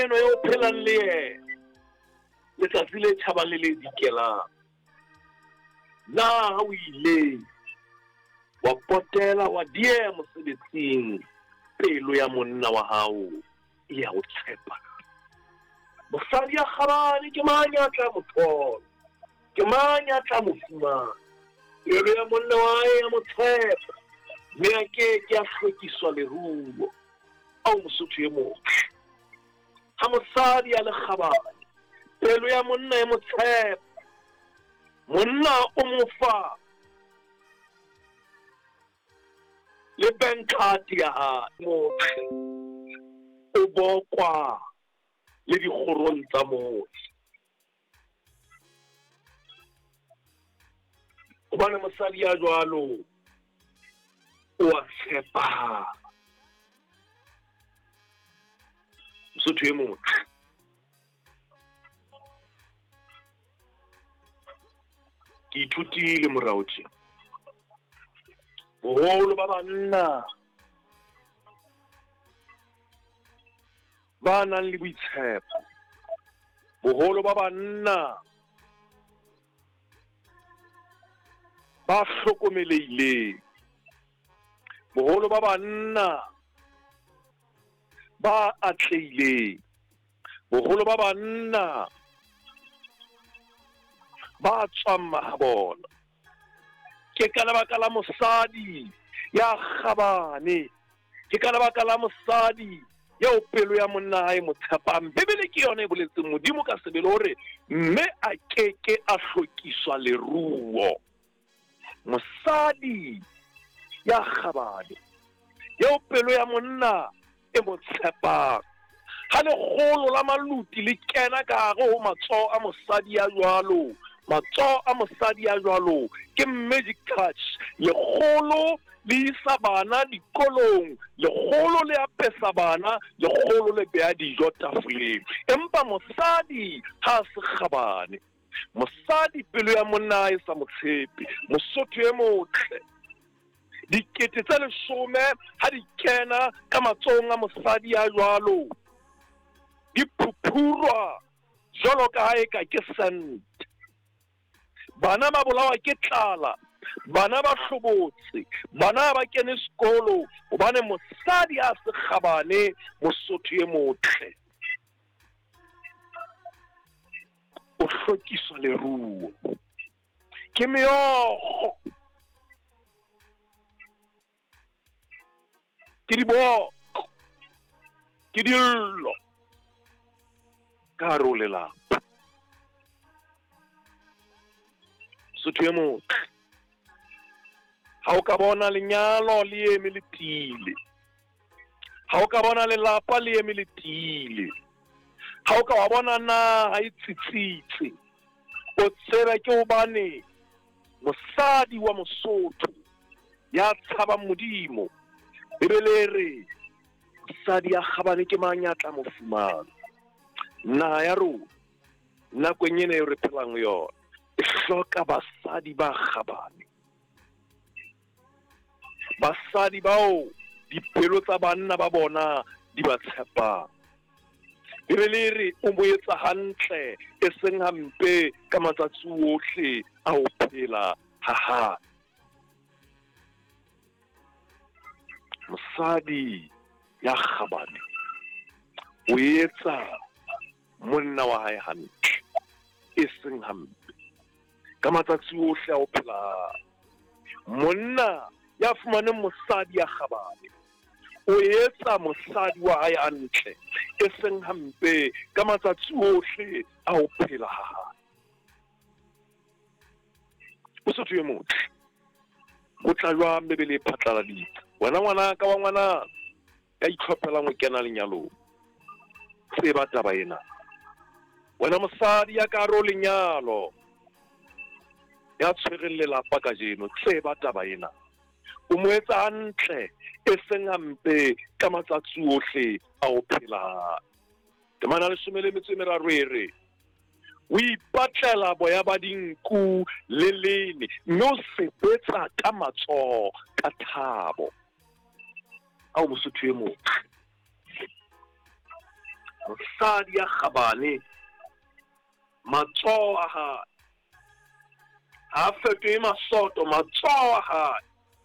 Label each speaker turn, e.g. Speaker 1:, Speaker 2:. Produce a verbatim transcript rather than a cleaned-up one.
Speaker 1: eno eo phelang le yena letsatsi le tjhabang le le dikelang, na ha o ile wa potela wa dieha mosebetsing, pelo ya monna wa hao e ya o tshepa? Mosadi ya kgabane ke mang ya tla mo thola? Ke mang ya tla mo fumana? Pelo ya monna wa hae ya mo tshepa, mme a ke ke a hlwekiswa leruo. Ao Mosotho e motle, ha mosadi a le kgabane, pelo ya monna e mo tshepa, monna o mo fa le bank card ya hae. Motle o bokwa le dikgorong tsa motse, hobane mosadi ya jwalo o a tshepahala. Mosotho e motle, ke ithutile morao tje, boholo ba banna ba nang le boitshepo, boholo ba banna ba hlokomelehileng, boholo ba banna ba atlehileng, boholo ba banna ba tswang mahabona, ke ka lebaka la mosadi ya kgabane, ke ka lebaka la mosadi eo pelo ya monna hae mo tshepang. Bibele ke yona e boletseng Modimo ka sebele hore mme a ke ke a hlokiswa leruo. Mosadi ya kgabane eo pelo ya monna e mo tshepang, ha lekgolo la maluti le kena ka hare ho matsoho a mosadi ya jwalo, matsoho a mosadi ya jwalo ke magic touch. Lekgolo le isa bana dikolong, lekgolo le apesa bana, lekgolo le beha dijo tafoleng. Empa mosadi ha se kgabane, mosadi pelo ya monna e sa mo tshepe. Mosotho e motle, dikete tse leshome ha di kena ka matsohong a mosadi ya jwalo, di phuphurwa jwalo ka ha eka ke sente. Bana ba bolawa ke tlala, bana ba hlobotse, bana ba kene sekolo, hobane mosadi a se kgabane. Mosotho e motle o hlokiswa leruo ke meokgo, ke diboko, ke dillo ka hare ho lelapa. Mosotho e motle, ha o ka bona lenyalo le eme le tiile, ha o ka bona lelapa le eme le tiile, ha o ka wa bona naha e tsitsitse, o tsebe ke hobane mosadi wa Mosotho ya tshabang Modimo, Bibele e re mosadi ya kgabane ke mang ya tla mo fumana? Naha ya rona nakong ena eo re phelang ho yona e hloka basadi ba kgabane, basadi bao dipelo tsa banna ba bona di ba tshepang. Bibele e re o mo etsa hantle e seng hampe ka matsatsi ohle a ho phela ha hae. Mosadi ya kgabane o etsa monna wa hae hantle e seng hampe ka matsatsi ohle a ho phela. Monna ya fumaneng mosadi ya kgabane o etsa mosadi wa hae hantle e seng hampe ka matsatsi ohle a ho phela ha hae. Mosotho e motle, o tla jwang Bibele e phatlaladitse? Wena ngwana ka wa ngwana ya itlhophelang ho kena lenyalong, tseba taba ena. Wena mosadi ya ka hare ho lenyalo, ya tshwereng lelapa kajeno, tseba taba ena. O mo etsa hantle e seng hampe ka matsatsi ohle a ho phela. Temana leshome le metso e meraro e re o ipatlela boya ba dinku le lene, mme o sebetsa ka matsoho ka thabo. Ao Mosotho e motle, Mosadi ya kgabane, matsoho a hae ha a fetohe masoto, matsoho a hae.